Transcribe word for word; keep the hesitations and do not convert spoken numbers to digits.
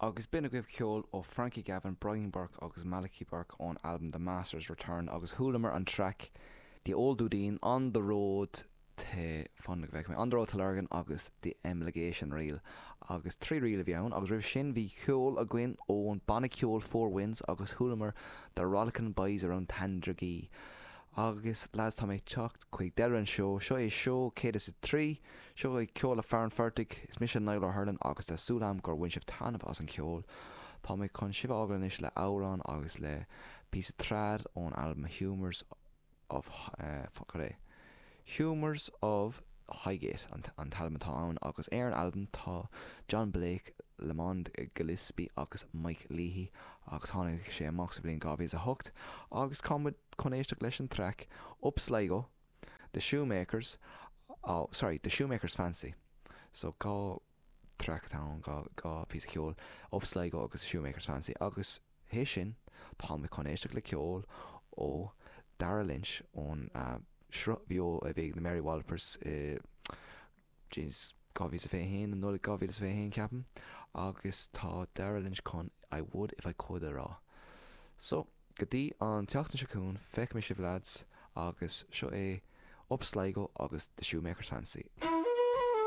Agus b'in agaibh ceol ó Frankie Gavin, Brian Burke agus Malachy Burke ón albam The Master's Return agus chualamar an traic The Old Dudeen on the Road to fan go bhfeicfidh mé On the Road to Lurgan agus The Emulation Reel agus trí ríl a bhí ann agus roimh sin bhí ceol againn ón banna ceoil Four Winds agus chualamar The Rollickin' Boys Around Tandragee. Agus lads tá mé teacht chuig deireadh an seó, seo é seó céad is a trí, seo é ceol le Fearann Phortaigh, is mise Niall O'Hurlin agus tá súil agam gur bhain sibh taitneamh as an ceol. Tá mé chun sibh a fhágáil anois le amhrán agus le píosa trad ón albam Humours of uh, fuck é. Humours of Highgate an, an t-albam atá ann agus ar an albam tá John Blake, Lamond Gillespie agus Mike Leahy agus tháinig sé amach sa bhliain dhá mhíle a hocht agus táimid chun éisteacht leis an traic Up Sligo, The Shoemakers oh sorry The Shoemaker's Fancy so dhá traic atá ann dhá dhá píosa ceoil Up Sligo agus The Shoemaker's Fancy agus théis sin tá mé chun éisteacht le ceol ó Dara Lynch ón uh, sruth bheo a bhí na Mary Wallopers uh, jeez dhá mhíle fiche haon an Nollaig dhá mhíle fiche haon ceapaim agus tá Dara Lynch chun I would if I could a rá. So go dtí an tseachtain seo chugainn feicfidh mé sibh lads agus seo é Up Sligo agus The Shoemaker's Fancy.